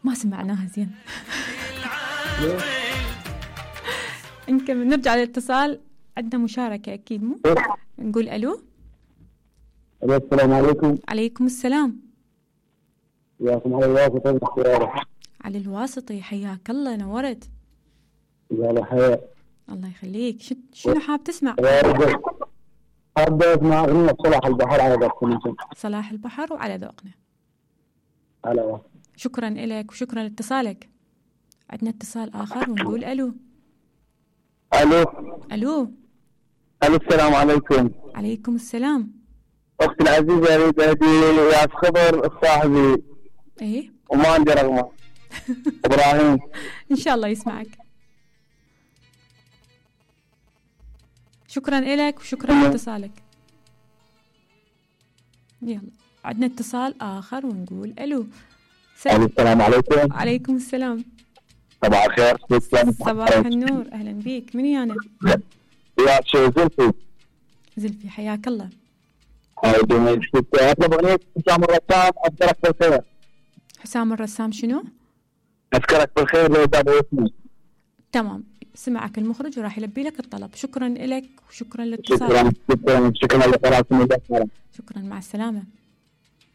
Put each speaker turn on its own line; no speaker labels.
ما سمعناها زين. نكمل نرجع للاتصال. عندنا مشاركة أكيد مو؟ نقول ألو.
السلام عليكم.
عليكم السلام.
وياكم علي الواسطي.
علي الواسطي، حياك الله، نورت.
يا الحياة.
الله يخليك. شنو حاب تسمع؟
حاب اسمع أغنية صلاح البحر على ذوقنا.
صلاح البحر وعلى ذوقنا.
على.
شكرا لك وشكرا لاتصالك. عندنا اتصال آخر ونقول ألو.
ألو.
ألو.
ألو السلام عليكم.
عليكم السلام.
أختي العزيزة أريد أهدي يا خبر صاحبي.
إيه.
وما عندي رقمه. إبراهيم.
إن شاء الله يسمعك. شكرا لك وشكرا لاتصالك. يلا عندنا اتصال آخر ونقول ألو.
السلام عليكم.
عليكم السلام.
صباح الخير.
صباح النور، أهلا بيك. من أنا؟
يا شو زلفي.
زلفي، حياك الله.
أطلب أغنية حسام الرسام أذكرك بالخير.
حسام الرسام شنو؟
أذكرك بالخير لو تابع اسمي.
تمام، سمعك المخرج وراح يلبي لك الطلب. شكرا لك وشكرا لاتصالك.
شكرا لقراءة.
شكرا، مع السلامة.